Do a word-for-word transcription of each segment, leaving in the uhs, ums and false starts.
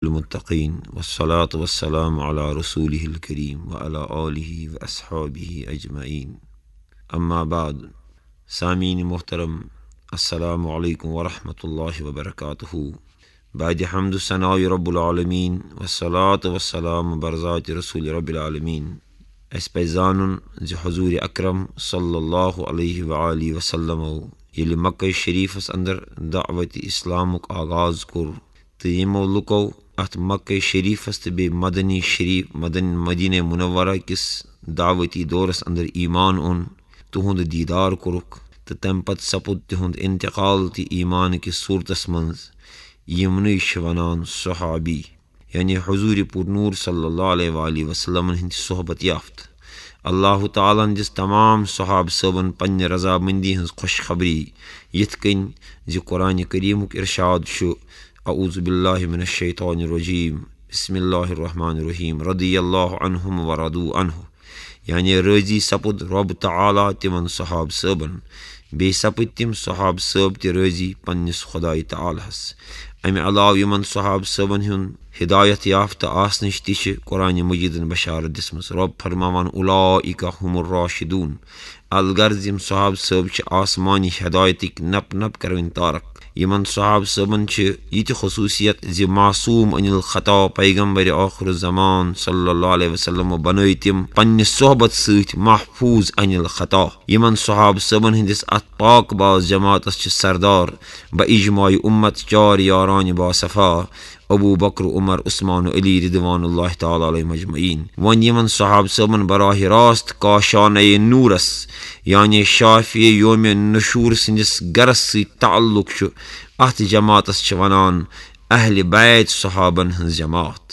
المتقين، والصلاة والسلام على رسوله الكريم وعلى آله وأصحابه أجمعين. أما بعد، سامعین محترم، السلام عليكم ورحمة الله وبركاته. بعد حمد و ثناء رب العالمين، والصلاة والسلام برذات رسول رب العالمين. اسہِ پزِ زانُن زِ حضور اکرم صلی اللہ علیہ وآلہ وسلمو ییٚلہِ مکہ شریفس اندر دعوت اسلامُک آغاز کوٚر، تہٕ یِمو لُکو اتھ مکہ شریفس تہٕ بیٚیہِ مدنی شریف، مدن-، مدینہ منورہ کِس دعوتی دورس اندر ایمان اوٚن، تِہُنٛد دیٖدار کوٚرُکھ، تہٕ تمہِ پتہٕ سپُد تِہُنٛد انتقال تہِ ایمان کِس صورتس منٛز۔ یِمنٕے چھِ ونان صحابی، یعنی حضور پُر نور صلی اللہ علیہ وآلہ وسلمن ہٕنٛدۍ صحبت یافتہٕ۔ اللہ تعالیٰ ہن دِژ تمام صحابہٕ صٲبن پننہِ رضامندی ہٕنٛز خوشخبری، یِتھ کٔنۍ زِ قرآن کریمُک ارشاد چھُ، اعوذ باللہ من الشیطان الرجیم، بسم اللہ الرحمن الرحیم، رضی اللہ عنہم ورضوا عنہ، یعنی رٲضی سپُد رۄب تعالیٰ تِمن صحابہٕ صٲبن، بیٚیہِ سپٕدۍ تِم صحابہٕ صٲب تہِ رٲضی پننِس خدایہِ تعالیٰ ہس۔ امہِ علاوٕ یِمن صحابہٕ صٲبن ہُنٛد ہدایت یافتہٕ آسنٕچ تہِ چھِ قرآن مجیدن بشارت دِژمٕژ۔ رۄب فرماوان، اولئک هم الراشدون، الغرض یِم صحابہٕ صٲب چھِ آسمانی ہدایتٕکۍ نپ نپ کروٕنۍ تارک۔ یِمن صحابہٕ صٲبن چھِ یہِ تہِ خصوٗصیت زِ معصوم عن الخطا، پیغمبر آخر الزمان صلی اللہ علیہ وسلم بنٲوۍ تِم پننہِ صحبت سۭتۍ محفوظ عن الخطا۔ یِمن صحابہٕ صٲبن ہٕنٛدِس اتھ پاک باز جماعتس چھِ سردار بہ اجماع امت چار یاران باصفا، ابو بکر، عمر، عثمان و علی رضوان اللہ تعالیٰ علیہم اجمعین۔ وۄنۍ یِمن صحابہٕ صٲبن براہ راست کاشانَے نورس، یعنی شافی یوم نشور سٕنٛدِس گرس سۭتۍ تعلق چھُ، اتھ جماعتس چھِ ونان اہل بیت صحابن ہٕنٛز جماعت۔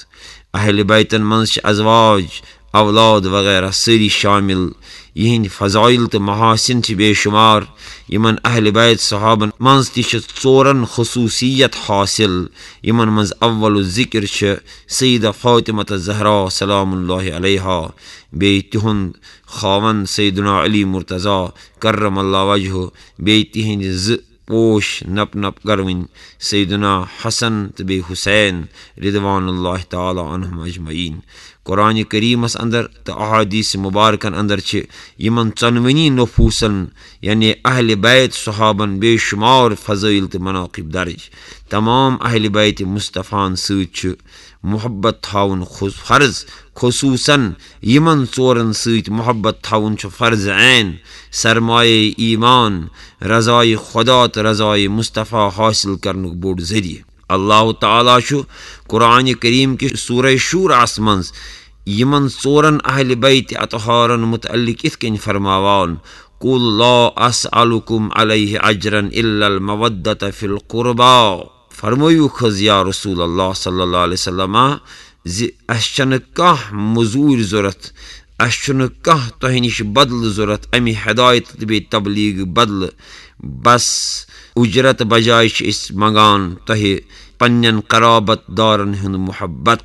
اہل بیتن منٛز چھِ ازواج، اولاد وغیرہ سٲری شامل۔ یِہنٛدۍ فضائل تہٕ محاسن چھِ بے شمار۔ یِمن اہل بیت صحابن منٛز تہِ چھِ ژورن خصوٗصیت حاصل، یِمن منٛز اول الذکر چھِ سیدہ فاطمہ الزہرا سلام اللہ علیہا، بیٚیہِ تِہُنٛد خاوند سیدنا علی مرتضی کرم اللہ وجہہ، بیٚیہِ تِہنٛدِ زٕ پوش نپ نپ کروٕنۍ سیدنا حسن تہٕ بیٚیہِ حسین رضوان اللہ تعالیٰ عنہم اجمعین۔ قرآن کریمس اندر تہٕ احادیث مبارکن اندر چھِ یِمن ژۄنوٕنی نفوسن، یعنی اہل بیت صحابن، بے شمار فضائل تہٕ مناقب درج۔ تمام اہل بیت مصطفیٰ ہن سۭتۍ چھُ محبت تھاوُن خص-، فرض، خصوصاً یِمن ژورن سۭتۍ محبت تھاوُن چھُ فرض عین، سرمایہ ایمان، رضائے خدا تہٕ رضائے مصطفیٰ حاصل کرنُک بوٚڑ ذٔریعہٕ۔ اللہ تعالیٰ چھُ قرآن کریم کِس سورہ شورس منٛز یِمن ژورن اہل بیت اطہارن متعلق یِتھ کٔنۍ فرماوان، قل لا اسألكم عليه اجرا الا المودة في القربى۔ فرمٲیِو حظ یا رسول اللہ صلی اللہ علیہ وسلم زِ اَسہِ چھَنہٕ کانٛہہ مٔزوٗرۍ ضوٚرَتھ، اَسہِ چھُنہٕ کانٛہہ تۄہہِ نِش بدلہٕ ضوٚرَتھ اَمہِ ہدایت تہٕ بیٚیہِ تبلیغ بدلہٕ۔ بس اُجرت بجایہِ چھِ أسۍ منٛگان تۄہہِ پنٛنٮ۪ن قرابت دارَن ہُنٛد محبت۔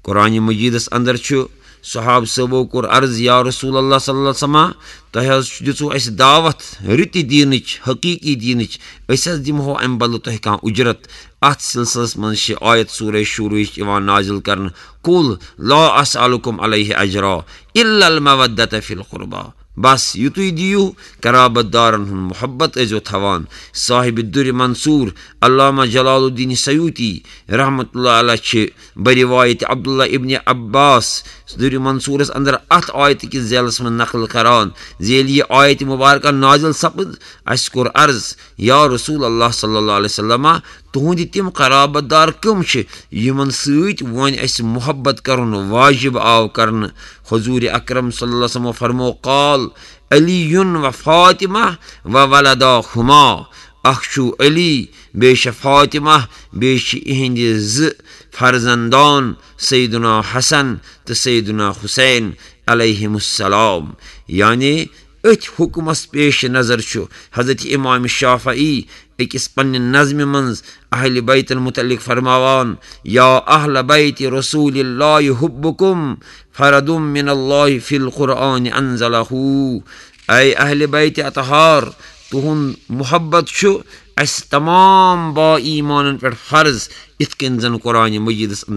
قرآن مجیدس اندر چھُ صحابہٕ صٲبو کوٚر عرض، یا رسول اللہ صلی اللہ علیہ وسلم، تۄہہِ حظ دِژوٕ اَسہِ دعوت رٕتہِ دیٖنٕچ، حقیٖقی دیٖنٕچ، أسۍ حظ دِمہو اَمہِ بدلہٕ تۄہہِ کانٛہہ اُجرت؟ اَتھ سلسلس منٛز چھِ آیت سورہ شوروٕچ یِوان نازل کرنہٕ، قل لا اسألكم عليه اجرا الا المودة في القربى۔ بس یُتُے دِیِو، قرابت دارن ہُنٛد محبت ٲسۍزیو تھاوان۔ صاحب الدُّرِ منصور علامہ جلال الدین سیوطی رحمتہ اللہ علیہ چھِ بروایت عبداللہ ابن عباس دُرِ منصورس اندر اتھ آیتہِ کِس ذیلس منٛز نقل کران زِ ییٚلہِ یہِ آیت مبارکہ نازل سپٕد، اسہِ کوٚر عرض، یا رسول اللہ صلی اللہ علیہ وسلم، تُہنٛدِ تِم قرابت دار کٕم چھِ یِمن سۭتۍ وۄنۍ اسہِ محبت کرُن واجب آو کرنہٕ؟ حضور اکرم صلی اللہ علیہ وسلم فرمو، قال علی و فاطمہ و ولداہما، اکھ چھُ علی، بیٚیہِ چھِ فاطمہ، بیٚیہِ چھِ یِہنٛدِ زٕ فرزندان سیدنا حسن تہٕ سیدنا حسین علیہم السلام۔ یعنی أتھۍ حکمس پیش نظر چھُ حضرت امام شافعی أکِس پننہِ نظمہِ منٛز اہل بیتن متعلق فرماوان، یا اہل بیت رسول اللہ حبکم فرد من اللہ فی القرآن انزلہ۔ اے اہل بیت اطہار، تُہُنٛد محبت چھُ اَسہِ تمام با ایٖمانن پٮ۪ٹھ فرض، یِتھ کٔنۍ زن قرآن مجیدس اندر